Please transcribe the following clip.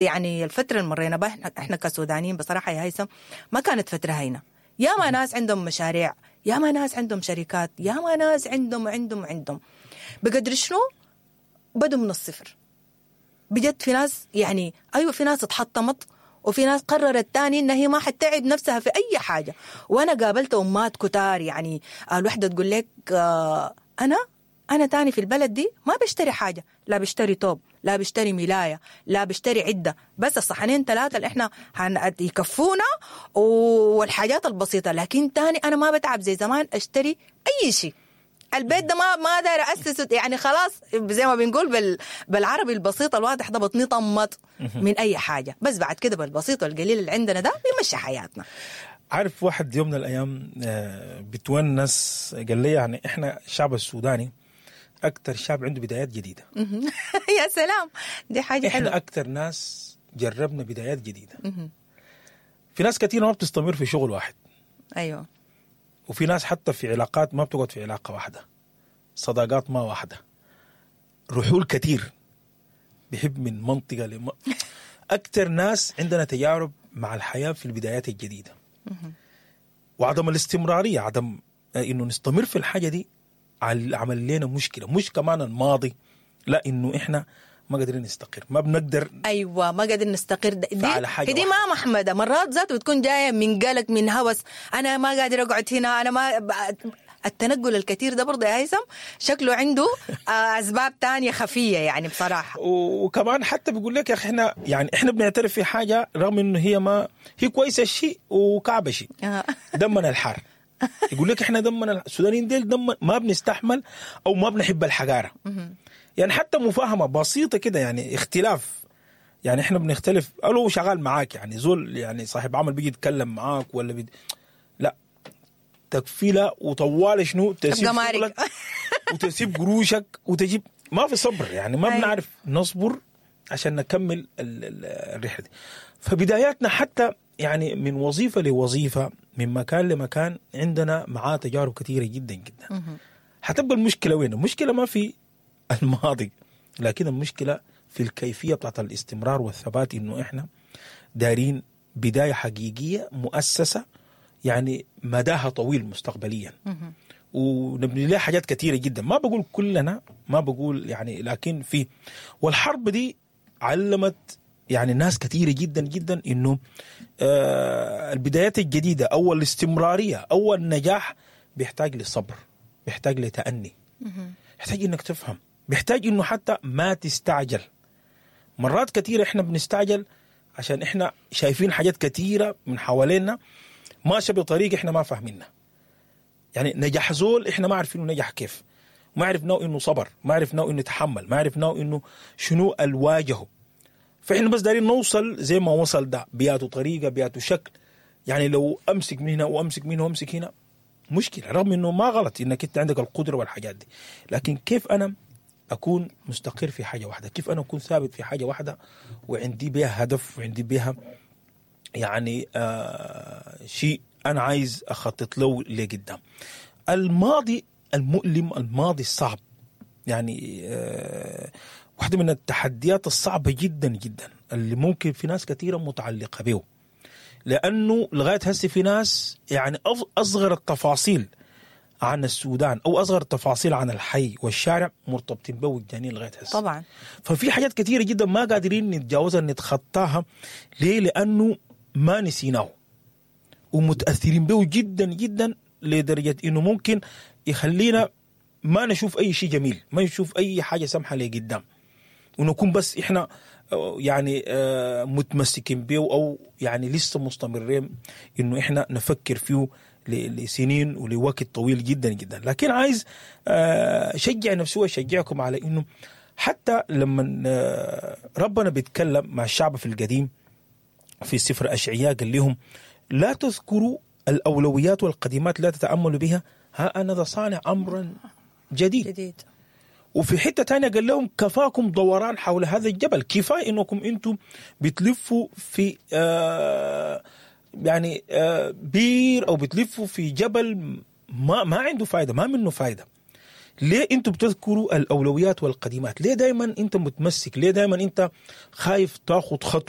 يعني الفترة اللي مرينا بها احنا كسودانيين بصراحة يا هيثم ما كانت فترة هينة. ياما ناس عندهم مشاريع، ياما ناس عندهم شركات، ياما ناس عندهم عندهم عندهم بقدر شنو بدوا من الصفر. بجد في ناس يعني ايوه في ناس اتحطمت، وفي ناس قررت تاني انها هي ما حتتعب نفسها في اي حاجة. وانا قابلت امات كتار، يعني الوحدة تقول لك انا تاني في البلد دي ما بشتري حاجة، لا بشتري توب، لا بشتري ملايه، لا بشتري عده، بس الصحنين ثلاثة اللي احنا يكفونا والحاجات البسيطة، لكن تاني انا ما بتعب زي زمان اشتري اي شيء. البيت ده ما داير اسسه، يعني خلاص زي ما بنقول بالعربي البسيط الواضح ده بطني طمت من اي حاجة، بس بعد كده بالبسيط والقليل اللي عندنا ده بيمشي حياتنا. عارف واحد يوم من الايام بتونس قال لي يعني احنا الشعب السوداني اكثر شعب عنده بدايات جديدة. يا سلام، دي حاجة حلوة. احنا اكثر ناس جربنا بدايات جديدة. في ناس كثيرة ما بتستمر في شغل واحد. ايوه. وفي ناس حتى في علاقات ما بتقعد في علاقة واحدة، صداقات ما واحدة، رحول كثير، بيحب من منطقة اكثر ناس عندنا تجارب مع الحياة في البدايات الجديدة. وعدم الاستمرارية، عدم انه نستمر في الحاجة دي عمل لنا مشكلة. مش كمان الماضي، لا، انه احنا ما قادرين نستقر، ما بنقدر. ايوه، ما قادرين نستقر. دي ما محمده مرات ذاته بتكون جاية من قلق، من هوس، انا ما قادر اقعد هنا، انا ما التنقل الكثير ده برضه يا هيثم شكله عنده اسباب تانية خفيه يعني بصراحة. وكمان حتى بيقول لك يا اخي احنا يعني احنا بنعترف في حاجة رغم انه هي ما هي كويسة شيء وكعبه شيء. دمنا الحار. يقول لك احنا دمنا السودانيين ديل دم ما بنستحمل او ما بنحب الحجارة. يعني حتى مفاهمه بسيطة كده، يعني اختلاف، يعني احنا بنختلف، قالوا شغال معاك يعني زول يعني صاحب عمل بيجي يتكلم معاك ولا لا تكفيله وطوال شنو تسيب شغلك وتسيب قروشك وتجيب، ما في صبر يعني، ما بنعرف نصبر عشان نكمل الرحلة دي. فبداياتنا حتى يعني من وظيفة لوظيفة، من مكان لمكان، عندنا معاه تجارب كثيرة جدا جدا. هتبقى المشكلة وين؟ المشكلة ما في الماضي، لكن المشكلة في الكيفية بتاعت الاستمرار والثبات، انه احنا دارين بداية حقيقية مؤسسة يعني مداها طويل مستقبليا، ونبني لها حاجات كثيرة جدا. ما بقول كلنا، ما بقول يعني، لكن في، والحرب دي علمت يعني ناس كثيرة جدا جدا انه البدايات الجديدة او الاستمرارية او النجاح بيحتاج لصبر، بيحتاج لتأني، بيحتاج انك تفهم، بيحتاج انه حتى ما تستعجل. مرات كثيرة احنا بنستعجل عشان احنا شايفين حاجات كثيرة من حوالينا ماشية بطريقة احنا ما فاهمينها. يعني نجاح زول احنا ما عارفين انه نجح كيف، ما عرفناه انه صبر، ما عرفناه انه تحمل، ما عرفناه انه شنو الواجهة. فإحنا بس دارين نوصل زي ما وصل ده، بياته طريقة، بياته شكل. يعني لو أمسك من هنا وأمسك من هنا وأمسك هنا مشكلة، رغم إنه ما غلط إنك أنت عندك القدرة والحاجات دي، لكن كيف أنا أكون مستقر في حاجة واحدة؟ كيف أنا أكون ثابت في حاجة واحدة وعندي بها هدف وعندي بها يعني شيء أنا عايز أخطط له لقدام. الماضي المؤلم، الماضي الصعب، يعني واحدة من التحديات الصعبة جدا جدا اللي ممكن في ناس كثيرة متعلقة به، لأنه لغاية هسه في ناس يعني أصغر التفاصيل عن السودان أو أصغر التفاصيل عن الحي والشارع مرتبطين به وجدانين لغاية هسه. طبعا. ففي حاجات كثيرة جدا ما قادرين نتجاوزها، نتخطاها. ليه؟ لأنه ما نسيناه ومتأثرين به جدا جدا لدرجة إنه ممكن يخلينا ما نشوف أي شيء جميل، ما نشوف أي حاجة سمحة لقدام، ونكون بس إحنا يعني متمسكين به أو يعني لسه مستمرين إنه إحنا نفكر فيه لسنين ولوقت طويل جدا جدا. لكن عايز أشجع نفسي وأشجعكم على إنه حتى لما ربنا بيتكلم مع الشعب في القديم في سفر أشعياء قال لهم لا تذكروا الأولويات والقديمات، لا تتأملوا بها، ها أنا ذا صانع أمرا جديد. وفي حتة تانية قال لهم كفاكم دوران حول هذا الجبل، كفاية إنكم أنتم بتلفوا في يعني بير أو بتلفوا في جبل ما عنده فايدة، ما منه فايدة. ليه انتم بتذكروا الاولويات والقديمات؟ ليه دائما انت متمسك؟ ليه دائما انت خايف تاخذ خطوة؟